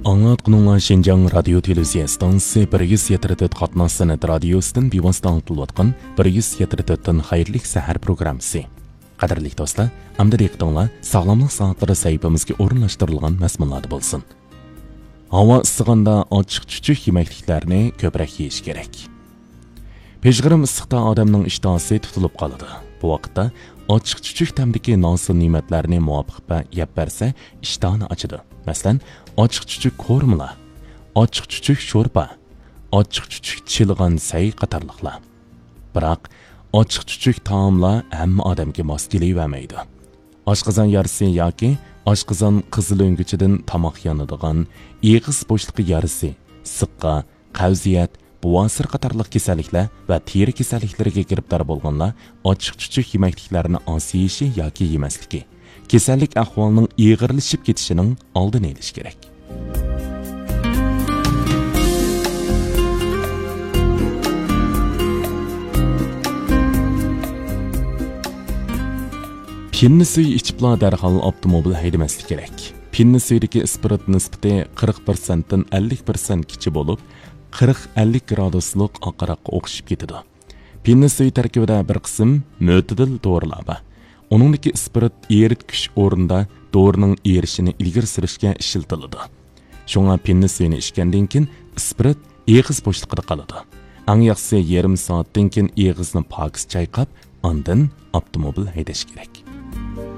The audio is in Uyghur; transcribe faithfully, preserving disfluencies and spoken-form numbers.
ئاڭلاتقىنىڭلار شىنجاڭ رادىيو تېلېۋىزىيە ئىستانسىسى بىر يۈز يەتتە تۆت قاتناش سەنئەت رادىيوسىدىن بىۋاسىتە ئاڭلىتىلىۋاتقان بىر يۈز يەتتە تۆتتىن خەيرلىك سەھەر پروگراممىسى. قەدىرلىك دوستلار، ئەمدى دىققىتىڭلار ساغلاملىق سائەتلىرى سەھىپىمىزگە ئورۇنلاشتۇرۇلغان مەزمۇنلاردا بولسۇن. ھاۋا ئىسسىغاندا ئاچچىق چۈچۈك يېمەكلىكلەرنى كۆپرەك يېيىش كېرەك. پىژغىرىم ئىسسىقتا ئادەمنىڭ ئىشتىھاسى تۇتۇلۇپ قالىدۇ. بۇ ۋاقىتتا ئاچچىق چۈچۈك تەمدىكى نان سۇ نېمەتلەرنى مۇۋاپىق پە-، يەپ بەرسە، ئىشتىھانى ئاچىدۇ. مەسىلەن، ئاچچىق چۈچۈك قورۇمىلار، ئاچچىق چۈچۈك شورپا، ئاچچىق چۈچۈك چىلىغان سەي قاتارلىقلار. بىراق، ئاچچىق چۈچۈك تائاملار ھەممە ئادەمگە ماس كېلىۋەرمەيدۇ. ئاشقازان يارىسى ياكى ئاشقازان قىزىلۆڭگۈچىدىن تاماق يانىدىغان، ئېغىز بوشلۇقى يارىسى، سىققا، قەۋزىيەت، بوۋاسىر قاتارلىق كېسەللىكلەر ۋە تېرە كېسەللىكلىرىگە گىرىپتار بولغانلار ئاچچىق چۈچۈك يېمەكلىكلەرنى ئاز يېيىشى ياكى يېمەسلىكى، كېسەللىك ئەھۋالىنىڭ ئېغىرلىشىپ كېتىشىنىڭ ئالدىنى ئېلىش كېرەك. پىننە سۈيى ئىچىپلا دەرھال ئاپتوموبىل ھەيدىمەسلىك كېرەك. پىننە سۈيىدىكى ئىسپىرت نىسبىتى قىرىق پىرسەنتتىن ئەللىك پىرسەنتكىچە بولۇپ، قىرىق ئەللىك گرادۇسلۇق ئاق ھاراققا ئوخشىشىپ كېتىدۇ. پىننە سۈيى تەركىبىدە بىر قىسىم مۆتىدىل دورىلار بار. ئۇنىڭدىكى ئىسپىرت ئېرىتكۈچ ئورنىدا دورىنىڭ ئېرىشىنى ئىلگىرى سۈرۈشكە ئىشلىتىلىدۇ. شۇڭا پىننە سۈيىنى ئىچكەندىن كېيىن ئىسپىرت ئېغىز بوشلۇقىدا قالىدۇ. ئەڭ ياخشىسى يېرىم سائەتتىن كېيىن ئېغىزنى پاكىز چايقاپ، ئاندىن ئاپتوموبىل ھەيدەش كېرەك.